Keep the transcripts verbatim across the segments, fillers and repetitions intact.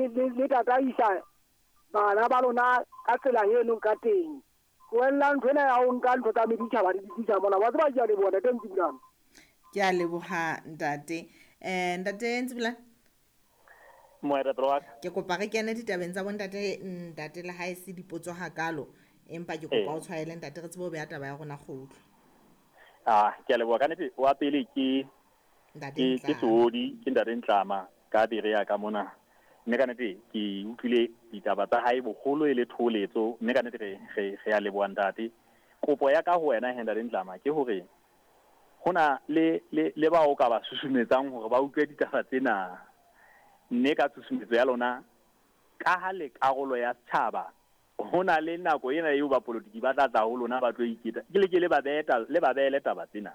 le le le tataisa bana ba lona ka tsela eno ka teng. Tlohellang ntho ena ya ho nka ntho tsa meditjhaba di tlisa mona. Wa tseba ke a leboha ntate Ntsibulane. Ke a leboha ntate. Eh ntate Ntsibulane. Moetapele wa ka. Ke kopa re kene ditabeng tsa bontate ntate le ha e se dipotso hakalo empa ke kopa o tshwaele ntate re tsebe ho beha taba ya rona kgutlo. Ah, ke a leboha ka nnete. Wa pele ke Ntate ke ke Seodi, ke ntate Ntlama ka Berea ka mona. Mme ka nnete ke utlwile ditaba tsa hae boholo e le tholetso, mme ka nnete re re re a leboha ntate. Kopo ya ka ho wena he ntate Ntlama ke hore hona le le le bao ka ba susumetsang hore ba utlwe ditaba tsena. Mme ka tshusumetso ya lona ka ha le karolo ya setjhaba, hona le nako ena eo ba politiki ba tla tla ho lona ba tlo iketa. Ke le ke le ba beeta le ba beele taba tsena.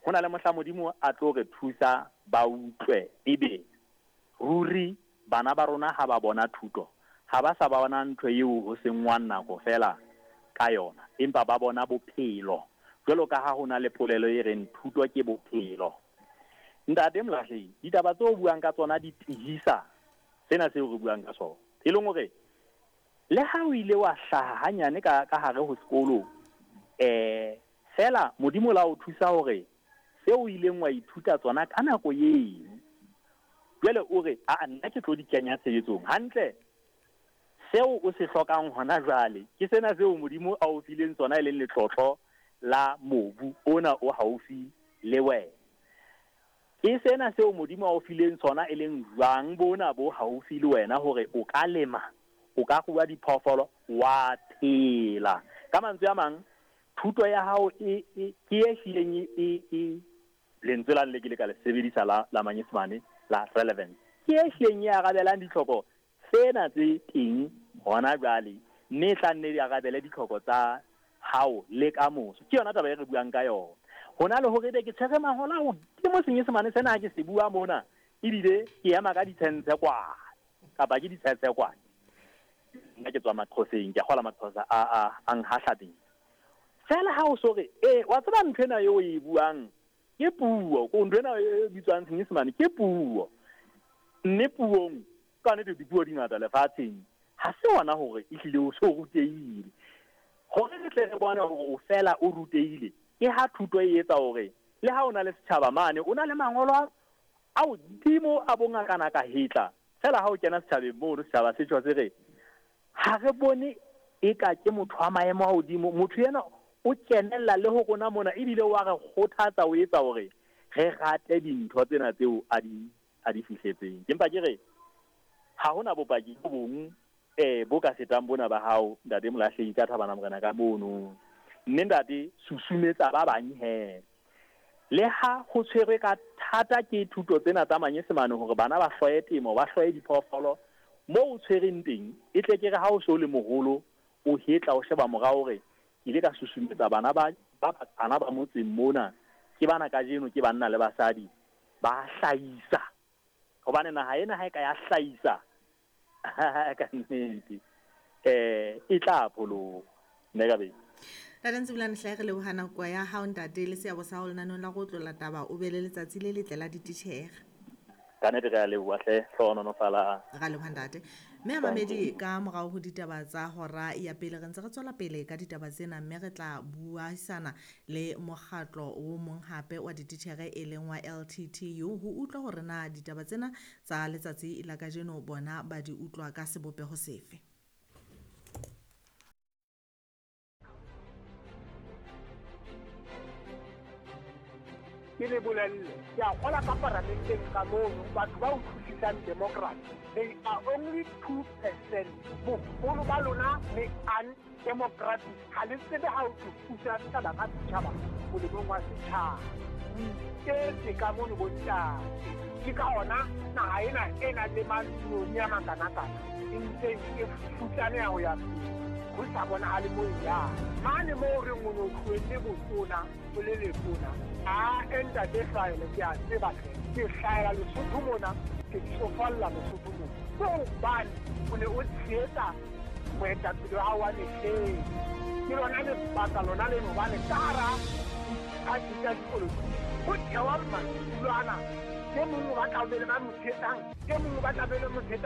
Hona le mohla Modimo a tlo re thusa ba utlwe ebe ruri bana ba rona ha ba bona thuto, ha ba sa ba bona ntho eo ho sengwang nako fela ka yona, empa ba bona bophelo. Jwalo ka ha hona le polelo e reng thuto ke bophelo. Ntate Molahlehi, ditaba tseo buang ka tsona di tihisa sena seo re buang ka sona. E leng hore le ha o ile wa hlaha hanyane ka ka hare ho sekolo, eh fela Modimo la o thusa hore seo o ileng wa ithuta tsona ka nako eno, jwale o re a nna ke tlo di kenya tshebetsong hantle. Seo o se hlokang hona jwale ke sena seo Modimo a o fileng tsona, e leng letlotlo la mobu ona o haufi le wena. Ke sena seo Modimo a o fileng tsona, e leng jwang bona bo haufi le wena, hore o ka lema, o ka rua diphoofolo, wa phela. Ka mantswe a mang, thuto ya hao e e ke e hlileng e e lentswe la le ke le ka le sebedisa la la Manyesemane la relevance, ke e hlileng e arabelang ditlhoko tsena tse teng hona jwale, mme e tla nne di arabele ditlhoko tsa hao le ka moso. Ke yona taba e re buang ka yona. Hona le hore ebe ke tshwere mahola hodimo Senyesemane sena ha ke se bua mona, ebile ke ema ka ditshentshe kwana kapa ke ditshentshe kwana. Nna ke tswa Maxhoseng, ke a kgola Maxhosa a a a nhahla teng. Fela ha o so re, eh wa tseba ntho ena eo o e buang ke puo, ko ntho ena e bitswang Senyesemane ke puo. Mme puong ka nnete dipuo di ngata lefatsheng, ha se hona hore ehlile o so rutehile. Hore re tle re bone hore o fela o rutehile, ke ha thuto e etsa hore le ha o na le setjhaba mane, o na le mangolo a hodimo a bongakana ka hetla. Fela ha o kena setjhabeng mono, setjhaba se tjho se re ha re bone eka ke motho wa maemo a hodimo, motho ena o kenella le ho rona mona, ebile wa re kgothatsa o etsa hore re rate dintho tsena tseo a di a di fihletseng. Ke mpa ke re ha hona bopaki bo bong eh bo ka fetang bona ba hao ntate Molahlehi ka Thabana Morena ka mono. Mme ntate susumetsa ba bang he. Le ha ho tshwerwe ka thata ke thuto tsena tsa Manyesemane hore bana ba hloye temo, ba hloye diphoofolo, moo o tshwereng teng e tle ke re ha o so le moholo o hetla o sheba morao hore ke ile ka susumetsa bana ba ba bana ba motseng mona, ke bana kajeno ke banna le basadi ba hlahisa. Hobane naha ena ha e ka ya hlahisa ka nnete eh e tla pholoha. Nne ka be Ntate Ntsibulane hle re leboha nako ya hao ntate le seabo sa hao lenaneng la go tlola taba, o be le letsatsi le letle la dititjhere. Ka nnete re a leboha hle, hlohonolofala. Ra leboha ntate. Mme a mamedi ka morao ho ditaba tsa hora ya pele re ntse re tswela pele ka ditaba tsena, mme re tla buisana le mokgatlo o mong hape wa dititjhere e leng wa L T T U ho utlwa hore na ditaba tsena tsa letsatsi la kajeno bona ba di utlwa ka sebopeho sefe. Ke le bolelle, ke a kgola ka paramenteng ka mono, batho ba utlwisisang democracy, they are only two percent. Boholo ba lona le undemocratic, ha le tsebe ha o thusa setjhaba ka setjhaba molemong wa setjhaba. O iketse ka mono bontate. Ke ka hona naha ena e nang le maloni a makanakana e ntseng e futsaneha ho ya pele, ho sa bonahale moo e yang. Mane moo re reng o no tlohelle botona o le letona, a ntate hlahele ke a tseba hle, ke hlahela Lesotho mona, ke tsofalla Lesotho mona. Ke hobane o ne o tshehetsa moetapele wa hao wa mehleng. Ke lona lebaka lona leno hobane ka hara diphathi tsa dipolotiki ho thewa madulo ana, e mong o batla ho be le ba mo tshehetsang, e mong o batla be le mo tshehetsang.